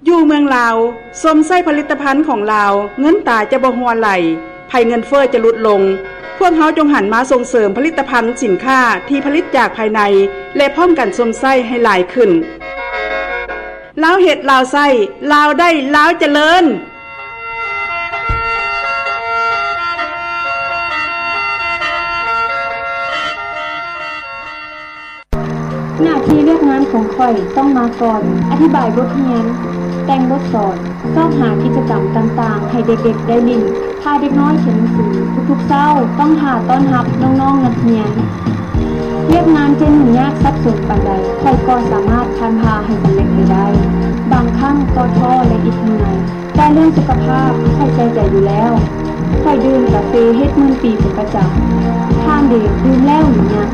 ຢູ່ເມືອງລາວ ຊົມໃຊ້ຜະລິດຕະພັນຂອງລາວ ເງິນຕາຈະບໍ່ຮົ່ວໄຫຼ, ໄພເງິນເຟີ້ຈະຫຼຸດລົງ. ພວກເຮົາຈົ່ງຫັນມາສົ່ງເສີມຜະລິດຕະພັນສິນຄ້າທີ່ຜະລິດຈາກພາຍໃນ ແລະ ພ້ອມກັນຊົມໃຊ້ໃຫ້ຫຼາຍຂຶ້ນ. ລາວເຮັດ ລາວໃຊ້, ລາວໄດ້ ລາວຈະເລີນ. ໜ້າທີ່ວຽກງານຂອງຂ້ອຍຕ້ອງມາກ່ອນ, ອະທິບາຍບົດຮຽນ, ແຕ່ງບົດສອນ, ຊອກຫາກິດຈະກຳຕ່າງໆໃຫ້ເດັກໆໄດ້ຫຼິ້ນ, ພາເດັກນ້ອຍຂຽນໜັງສື. ທຸກໆເຊົ້າຕ້ອງຖ້າຕ້ອນຮັບນ້ອງໆນັກຮຽນ. ວຽກງານຈະຫຍຸ້ງຍາກສັບສົນປານໃດ, ຂ້ອຍກໍສາມາດຜ່ານຜ່າໃຫ້ສຳເລັດໄປໄດ້. ບາງຄັ້ງກໍທໍ້ ແລະ ອິດເມື່ອຍ. ແຕ່ເລື່ອງສຸຂະພາບຂ້ອຍໃສ່ໃຈຢູ່ແລ້ວ. ຂ້ອຍດື່ມກາເຟເຮັດໝື່ນປີເປັນປະຈຳ. ທ່ານເດ ດື່ມແລ້ວຫຼືຍັງ?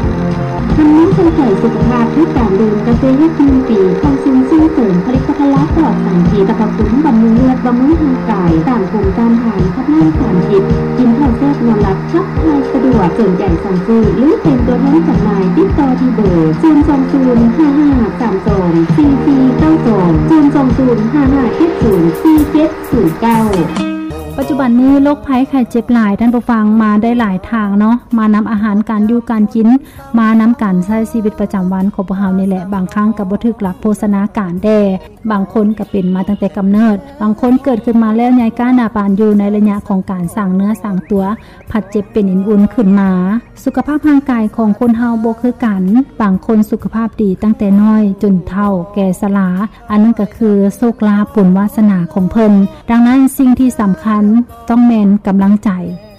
ທ່ານມີໃສ່ໃຈສຸຂະພາບດ້ວຍການດື່ມກາເຟເຮັດໝື່ນປີຂອງສູນສົ່ງເສີມຜະລິດຕະພັນລາວປອດສານພິດ, ສະພັບຄຸມບຳລຸງເລືອດ, ບຳລຸງຮ່າງກາຍ, ຕ້ານພູມຕ້ານທານ, ຂັບລ້າງສານພິດ, ກິນເຂົ້າແຊບນອນຫຼັບ, ຂັບຖ່າຍສະດວກ. ສົນໃຈສັ່ງຊື້ ຫຼື ເປັນຕົວແທນຈຳໜ່າຍ, ຕິດຕໍ່ທີ່ເບີ ສູນສອງສູນ ຫ້າຫ້າສາມສອງ ສີ່ສີ່ເກົ້າສອງ ສູນສອງສູນ ຫ້າຫ້າເຈັດສູນ ສີ່ເຈັດ ສູນເກົ້າ. ປັດຈຸບັນນີ້ໂລກໄພໄຂ້ເຈັບຫຼາຍ, ທ່ານຜູ້ຟັງ, ມາໄດ້ຫຼາຍທາງເນາະ, ມານຳອາຫານການຢູ່ການກິນ, ມານຳການໃຊ້ຊີວິດປະຈຳວັນຂອງພວກເຮົານີ້ແຫຼະ. ບາງຄັ້ງກໍບໍ່ຖືກຫຼັກໂພຊະນາການແດ່, ບາງຄົນກໍເປັນມາຕັ້ງແຕ່ກຳເນີດ, ບາງຄົນເກີດຂຶ້ນມາແລ້ວໃຫຍ່ກ້າໜາປານຢູ່ໃນໄລຍະຂອງການສ້າງເນື້ອສ້າງຕົວ, ພັດເຈັບເປັນເອັນອຸ່ນຂຶ້ນມາ. ສຸຂະພາບຮ່າງກາຍຂອງຄົນເຮົາບໍ່ຄືກັນ, ບາງຄົນສຸຂະພາບດີຕັ້ງແຕ່ນ້ອຍຈົນເຖົ້າແກ່ຊະລາ, ອັນນັ້ນກໍຄືໂຊກລາບບຸນວາສະໜາຂອງເພິ່ນ. ດັ່ງນັ້ນ, ສິ່ງທີ່ສຳຄັນຕ້ອງແມ່ນກຳລັງໃຈ,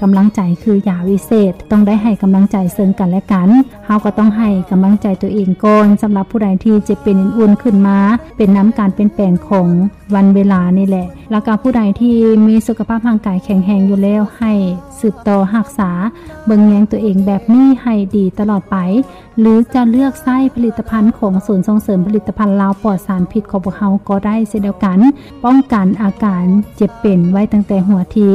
ກຳລັງໃຈຄືຢາວິເສດ, ຕ້ອງໄດ້ໃຫ້ກຳລັງໃຈເຊິ່ງກັນແລະກັນ. ເຮົາກໍຕ້ອງໃຫ້ກຳລັງໃຈຕົວເອງກ່ອນ. ສຳລັບຜູ້ໃດທີ່ເຈັບເປັນເອັນອຸ່ນຂຶ້ນມາ, ເປັນນຳການປ່ຽນແປງຂອງ ວັນເວລານີ້ແຫຼະ. ແລ້ວກໍຜູ້ໃດທີ່ມີສຸຂະພາບຮ່າງກາຍແຂງແຮງຢູ່ແລ້ວ, ໃຫ້ສືບຕໍ່ຮັກສາເບິ່ງແຍງຕົວເອງແບບນີ້ໃຫ້ດີຕະຫຼອດໄປ, ຫຼື ຈະເລືອກໃຊ້ຜະລິດຕະພັນຂອງສູນສົ່ງເສີມຜະລິດຕະພັນລາວປອດສານພິດຂອງພວກເຮົາກໍໄດ້ເຊັ່ນດຽວກັນ, ປ້ອງກັນອາການເຈັບເປັນໄວ້ຕັ້ງແຕ່ຫົວທີ.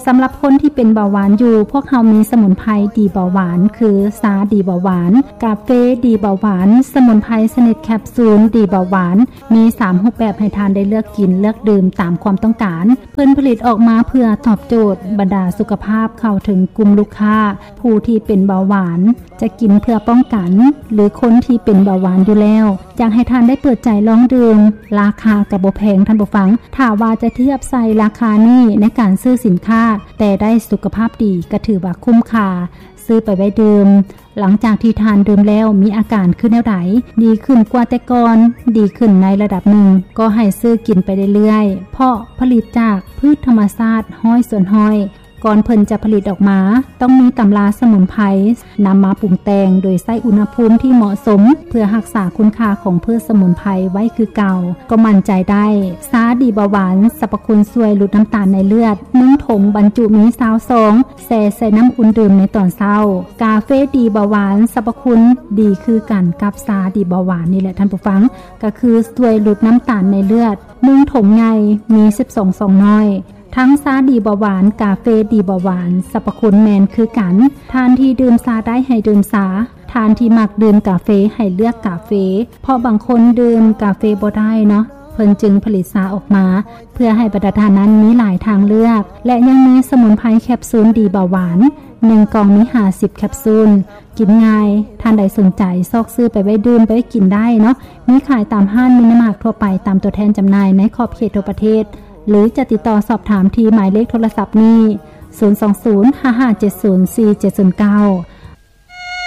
ສຳລັບຄົນທີ່ເປັນເບົາຫວານຢູ່, ພວກເຮົາມີສະໝຸນໄພດີເບົາຫວານ ຄື ຊາດີເບົາຫວານ, ກາເຟດີເບົາຫວານ, ສະໝຸນໄພຊະນິດແຄບຊູນດີເບົາຫວານ, ມີສາມຮູບແບບໃຫ້ທ່ານໄດ້ເລືອກກິນເລືອກດື່ມຕາມຄວາມຕ້ອງການ. ເພິ່ນຜະລິດອອກມາເພື່ອຕອບໂຈດບັນດາສຸຂະພາບ, ເຂົ້າເຖິງກຸ່ມລູກຄ້າຜູ້ທີ່ເປັນເບົາຫວານ, ຈະກິນເພື່ອປ້ອງກັນ ຫຼື ຄົນທີ່ເປັນເບົາຫວານຢູ່ແລ້ວ. ຢາກໃຫ້ທ່ານໄດ້ເປີດໃຈລອງດື່ມ, ລາຄາກໍບໍ່ແພງ, ທ່ານຜູ້ຟັງ. ຖ້າວ່າຈະທຽບໃສ່ລາຄານີ້ໃນການຊື້ສິນຄ້າ, ແຕ່ໄດ້ສຸຂະພາບດີ, ກໍຖືວ່າຄຸ້ມຄ່າ. ຊື້ໄປໄວ້ດື່ມ, ຫຼັງຈາກທີ່ທ່ານດື່ມແລ້ວ ມີອາການຄືແນວໃດ? ດີຂຶ້ນກວ່າແຕ່ກ່ອນ? ດີຂຶ້ນໃນລະດັບໜຶ່ງ, ກໍໃຫ້ຊື້ກິນໄປເລື້ອຍໆ, ເພາະຜະລິດຈາກພືດທຳມະຊາດຮ້ອຍສ່ວນຮ້ອຍ. ກ່ອນເພິ່ນຈະຜະລິດອອກມາ, ຕ້ອງມີຕຳລາສະໝຸນໄພນຳມາປຸງແຕ່ງ ໂດຍໃຊ້ອຸນຫະພູມທີ່ເໝາະສົມ ເພື່ອຮັກສາຄຸນຄ່າຂອງພືດສະໝຸນໄພໄວ້ຄືເກົ່າ, ກໍໝັ້ນໃຈໄດ້. ຊາດີເບົາຫວານ, ສັບພະຄຸນຊ່ວຍຫຼຸດນ້ຳຕານໃນເລືອດ, ໜຶ່ງຖົງບັນຈຸມີຊາວຊອງ, ແຊ່ໃສ່ນ້ຳອຸ່ນດື່ມໃນຕອນເຊົ້າ. ກາເຟດີເບົາຫວານ, ສັບພະຄຸນດີຄືກັນກັບຊາດີເບົາຫວານນີ້ແຫຼະທ່ານຜູ້ຟັງ, ກໍຄືຊ່ວຍຫຼຸດນ້ຳຕານໃນເລືອດ, ໜຶ່ງຖົງໃຫຍ່ມີສິບສອງຊອງນ້ອຍ. ທັງຊາດີເບົາຫວານ, ກາເຟດີເບົາຫວານ, ສັບພະຄຸນແມ່ນຄືກັນ. ທ່ານທີ່ດື່ມຊາໄດ້ໃຫ້ດື່ມຊາ, ທ່ານທີ່ມັກດື່ມກາເຟໃຫ້ເລືອກກາເຟ, ເພາະບາງຄົນດື່ມກາເຟບໍ່ໄດ້ເນາະ, ເພິ່ນຈຶ່ງຜະລິດຊາອອກມາ ເພື່ອໃຫ້ບັນດາທ່ານນັ້ນມີຫຼາຍທາງເລືອກ. ແລະ ຍັງມີສະໝຸນໄພແຄບຊູນດີເບົາຫວານ, ໜຶ່ງກ່ອງມີຫ້າສິບແຄບຊູນ, ກິນງ່າຍ. ທ່ານໃດສົນໃຈ ຊອກຊື້ໄປໄວ້ດື່ມ, ໄປໄວ້ກິນໄດ້ເນາະ. ມີຂາຍຕາມຮ້ານມິນິມາດທົ່ວໄປ, ຕາມຕົວແທນຈຳໜ່າຍໃນຂອບເຂດທົ່ວປະເທດ, ຫຼື ຈະຕິດຕໍ່ສອບຖາມທີ່ໝາຍເລກໂທລະສັບນີ້, ສູນສອງສູນ ຫ້າຫ້າເຈັດສູນ ສີ່ເຈັດສູນເກົ້າ.